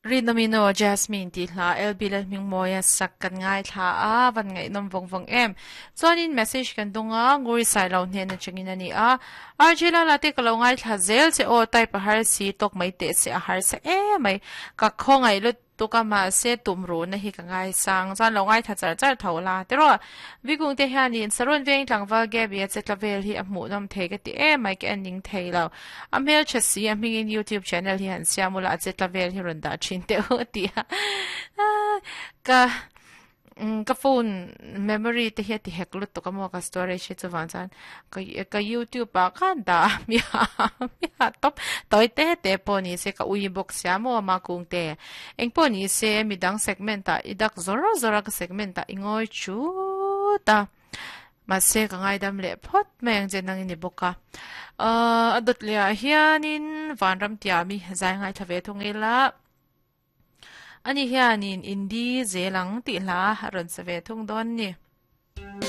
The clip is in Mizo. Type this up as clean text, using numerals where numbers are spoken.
Rinomino Jasmine tih hla LB Lalhmingmawia sak kan ngaithla a, van ngaihnawm vawng vawng em. Chuanin message kan dawng a, Nguri Sailo hnen atangin a ni a, RG Lala te ka lo ngaithla zel che aw, type a har si, tawk mai teh se a harsa emai, ka khawngaih lut Tuk a mahse tum ruhna hi ka ngaisang chuan lo ngaithla char char tho la tiraw. Vikung te hianin Saron veng tlangval Gaby a che tla vel hi a hmuhnawm thei ka ti em mai ka en ning thei lo. A hmeltha si a hmingin YouTube channel hi han siam ula a che tla vel hi rawn dah thin teh u a ti a. Ka Ka phone memory te hi a ti hek lutuk a maw ka storage hi chuvang chuan ka ka youtube ah khan dah a miah tawp tawi te te pawh ni se ka ui bawk sia maw ama kung te eng pawh ni se midang segment ah i dak zawr zawr a ka segment ah i ngawi chut a mahse ka ngaidam leh phawt mai ang che nang i ni bawk a ahh a dawt leh ah hianin vanram tiami zai ngaithla ve thung ila. Ani hianin Indi zel ang tih hla a rawn sa ve thung dawn ni.